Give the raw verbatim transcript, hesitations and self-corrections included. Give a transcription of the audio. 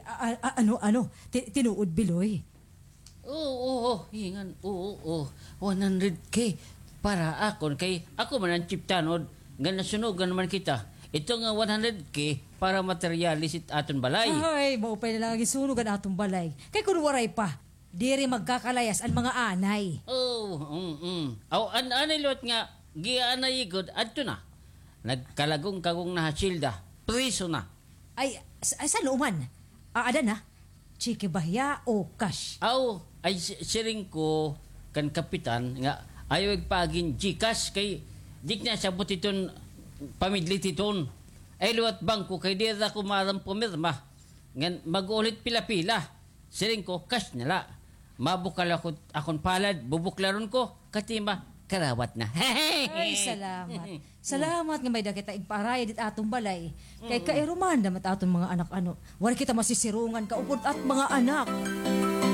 A- a- ano, ano? Ti- tinuod, Biloy? Oo, oo, hingan, oo, oo. One hundred K para akon kay ako man an chief tanod. Nga nasunugan man kita. Ito nga one hundred K para materyales it aton balay. Ay, maupay na la nga gisunog an aton balay. Kay kun waray pa, diri magkakalayas an mga anay. Oh, mm, mm. Aw, an anay liwat nga gianay gud adto na. Nagkalagong-kagong na ha silda. Priso na. Ay, s- ay, san-o man? Aada na? Tseke ba hiya o cash? Aw, ay si- siring ko kan kapitan nga ayaw igpaagi hin GCash kay di na sabot iton pamidlit iton. Ay liwat bangko kay diri ako maaram pumirma. Ngan mag-ulit pila-pila. Siring ko, cash na la. Mabukal ako akon palad, bubuklaron ko, katima, karawat na. Ay, salamat. Salamat nga may-ada kita igpaarayad it aton balay. Kay kairuman naman it aton mga anak, ano. Waray kita masisirungan kaupod it mga anak.